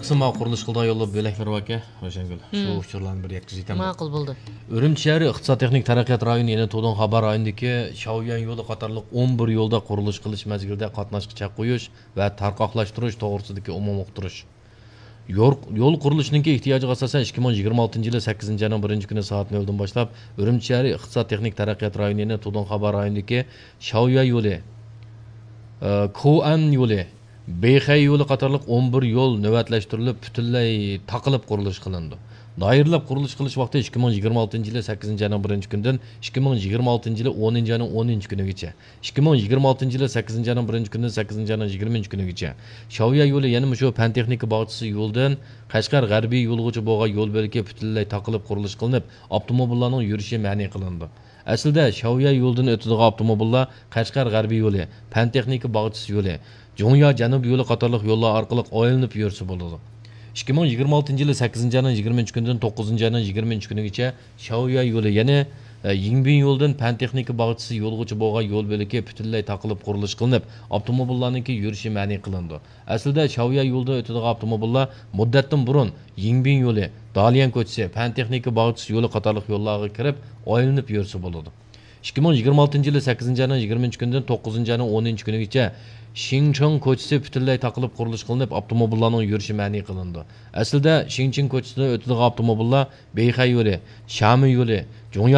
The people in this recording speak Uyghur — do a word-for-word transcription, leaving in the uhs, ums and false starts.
قىسىم ماۋۇ قۇرۇلۇش قىلىدىغان يوللار بۆلەك بېرىۋەركە، روشەنگۈل. شۇ ئۇچۇرلارنى بىر يەتكۈزۈۋېتەمدۇ؟ ماقۇل، بولدى. ئۈرۈمچى شەھىرى ئىقتىساد تېخنىك تەرەققىيات رايونى، يەنى تۇدۇڭخابا رايونىدىكى شاۋيۈەن يولى قاتارلىق ئون بىر يولدا قۇرۇلۇش قىلىش مەزگىلىدە قاتناشقا چەك قويۇش ۋە تارقاقلاشتۇرۇش توغرىسىدىكى ئومۇمىي ئۇقتۇرۇش. يور-، يول قۇرۇلۇشىنىڭكى ئېھتىياجىغا ئاساسەن، ئىككى مىڭ يىگىرمە ئالتىنچى يىلى سەككىزىنچى ئاينىڭ بىرىنچى كۈنى سائەت نۆلدىن باشلاپ، ئۈرۈمچى شەھىرى ئىقتىساد تېخنىك تەرەققىيات رايونى، يەنى تۇدۇڭخابا رايونىدىكى شاۋيۈەن يولى، ئى، كوئەن يولى، بېيخەي يولى قاتارلىق ئون بىر يول نۆۋەتلەشتۈرۈلۈپ، پۈتۈنلەي تاقىلىپ قۇرۇلۇش قىلىنىدۇ. دائىرىلەپ قۇرۇلۇش قىلىش ۋاقتى ئىككى مىڭ يىگىرمە ئالتىنچى يىلى سەككىزىنچى ئاينىڭ بىرىنچى كۈنىدىن ئىككى مىڭ يىگىرمە ئالتىنچى يىلى ئونىنچى ئاينىڭ ئونىنچى كۈنىگىچە. ئىككى مىڭ يىگىرمە ئالتىنچى يىلى سەككىزىنچى ئاينىڭ بىرىنچى كۈنىدىن سەككىزىنچى ئاينىڭ يىگىرمىنچى كۈنىگىچە. شاۋيۈەن يولى، يەنە مۇشۇ پەن تېخنىكا باغچىسى يولىدىن قەشقەر غەربىي يولىغىچە بولغان يول بۆلىكى پۈتۈنلەي تاقىلىپ قۇرۇلۇش قىلىنىپ، ئاپتوموبىللارنىڭ يۈرۈشى مەنئى قىلىنىدۇ. ئەسلىدە شاۋيۈەن يولىدىن ئۆتىدىغان ئاپتوموبىللار قەشقەر غەربىي يولى، پەن تېخنىكا باغچىسى يولى، جۇڭيا جەنۇبىي يولى قاتارلىق يوللار ئارقىلىق ئايلىنىپ يۈرسە بولىدۇ. ئىككى مىڭ يىگىرمە ئالتىنچى يىلى سەككىزىنچى ئاينىڭ يىگىرمىنچى كۈنىدىن توققۇزىنچى ئاينىڭ يىگىرمىنچى كۈنىگىچە شاۋيۈەن يولى، يەنى، ئە، يىڭبىن يولىدىن پەن تېخنىكا باغچىسى يولىغىچە بولغان يول بۆلىكى پۈتۈنلەي تاقىلىپ قۇرۇلۇش قىلىنىپ، ئاپتوموبىللارنىڭكى يۈرۈشى مەنئى قىلىنىدۇ. ئەسلىدە شاۋيۈەن يولىدىن ئۆتىدىغان ئاپتوموبىللار مۇددەتتىن بۇرۇن يىڭبىن يولى، داليەن كوچىسى، پەن تېخنىكا باغچىسى يولى قاتارلىق يوللارغا كىرىپ ئايلىنىپ يۈرسە بولىدۇ. ئىككى مىڭ يىگىرمە ئالتىنچى يىلى سەككىزىنچى ئاينىڭ يىگىرمىنچى كۈنىدىن توققۇزىنچى ئاينىڭ ئونىنچى كۈنىگىچە شىڭچىڭ كوچىسى پۈتۈنلەي تاقىلىپ قۇرۇلۇش قىلىنىپ، ئاپتوموبىللارنىڭ يۈرۈشى مەنئى قىلىنىدۇ. ئەسلىدە شىڭچىڭ كوچىسىدىن ئۆتىدىغان ئاپتوموبىللار بېيخەي يولى، شامى يولى، جۇڭيا